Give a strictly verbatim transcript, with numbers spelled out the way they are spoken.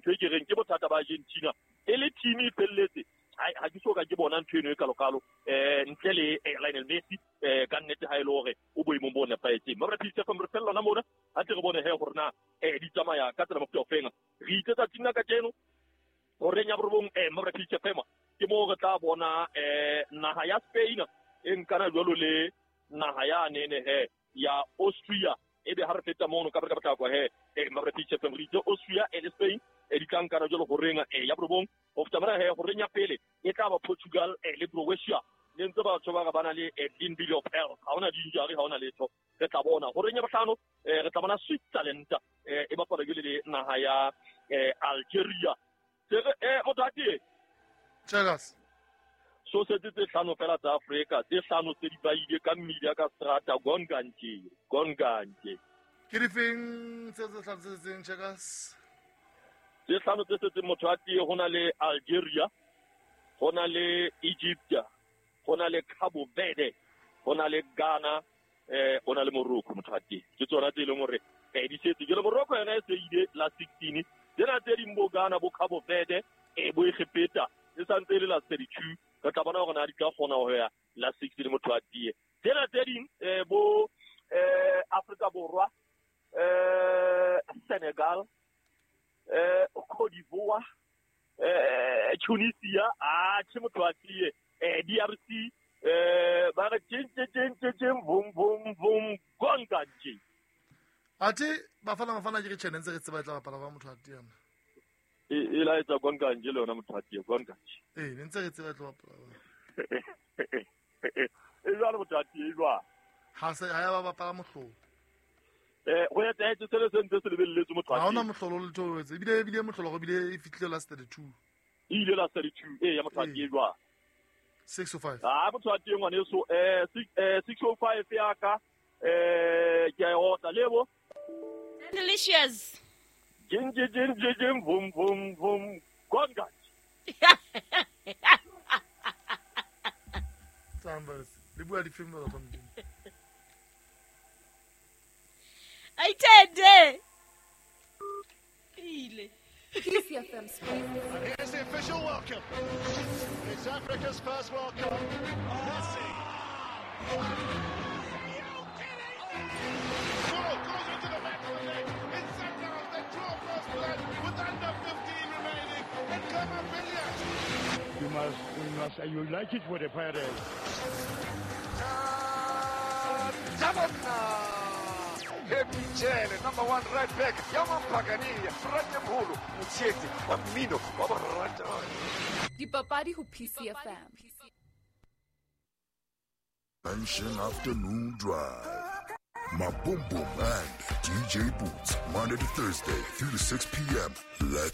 ntho e ke reng ke bothata ba Argentina e le team e felletse ha ke so ka ke bona ntho eno e kalokalo eh ntle le Lionel Messi eh ka nnete ha ile hore o boemong bo nepahetseng. Mabra P C F M re fella lona mona ha tle re bone he hore na eh di tsamaya ka tsela mofuta ofeng. Re itse tsatsing la kajeno horeng ya borobong eh Mabra P C F M ke mo re tla bona eh naha ya Spain e nkana jwalo le naha ya nene he ya Austria e be ha re feta mono ka ka potlako he eh Mabra P C F M re itse Austria e le Spain e di tla nkana jwalo horeng eh ya borobong ho feta mona he horeng ya pele e tla ba Portugal eh le Croatia le ntse batho ba ba na le Edwin Bill of Health ha ona di-injury ha ona letho re tla bona horeng ya bohlano eh re tla bona Switzerland eh e bapala jwale le naha ya eh Algeria eh motho Checkers so setse tse hlano fela tsa Afrika tse hlano tse di baile ka media ka strata gongantje gongantje ke difeng tse tse hlano tse tseng Checkers tse hlano tse setseng motho a tie hona le Algeria hona le Egypt hona le Cabo Verde hona le Ghana eh hona le Morocco motho a tie ke tsona tse leng hore eh di setse ke le Morocco yona e se ile la sixteen tsena tse ding bo Ghana bo Cabo Verde eh bo Egepeta e santse le la thirty-two re tla bona hore na di tla kgona ho ya la sixteen motho a tie tsena tse ding eh bo eh Afrika Borwa eh Senegal eh Cote d'Ivoire eh Tunisia ah che motho a tie eh D R C eh ba re tjeng tjeng tjeng bum bum bum gongantje ate bafana bafana ke re tjene ntse re tseba tla bapala ba motho a tie e e la etsa gongantje le yona motho a tie gongantje eh ne ntse re tseba tla bapala e jwalo motho a tie jwa ha se ha ya ba bapala mohlolo eh go etsa etsa se se ntse se lebelletse motho a ha ona mohlolo le tho etse ebile ebile mohlolo go bile e fitlile la thirty-two e ile la thirty-two eh ya motho a tie jwa six oh five ah motho a tie ngwane so eh six oh five ya ka eh ke a otla lebo Delicious jing jing jing jing boom boom boom gongantje Tsambas le bua di film ba Modimo Aitende ile P C F M Spain. And here's the official welcome. It's Africa's first World Cup. Messi. Goal goes into the back of the net. It's Sundowns that draw first blood with under fifteen remaining. And Khama Billiat. You must, you must, you like it for the Pirates. Michele, number one right back, Yaman Pagania, Frate Mholo, Motsheti, wa mmino, wa borata. Dipapadi ho P C F M. Pension Afternoon Drive. My Boom Boom and D J Boots, Monday to Thursday, three to six p.m. Let's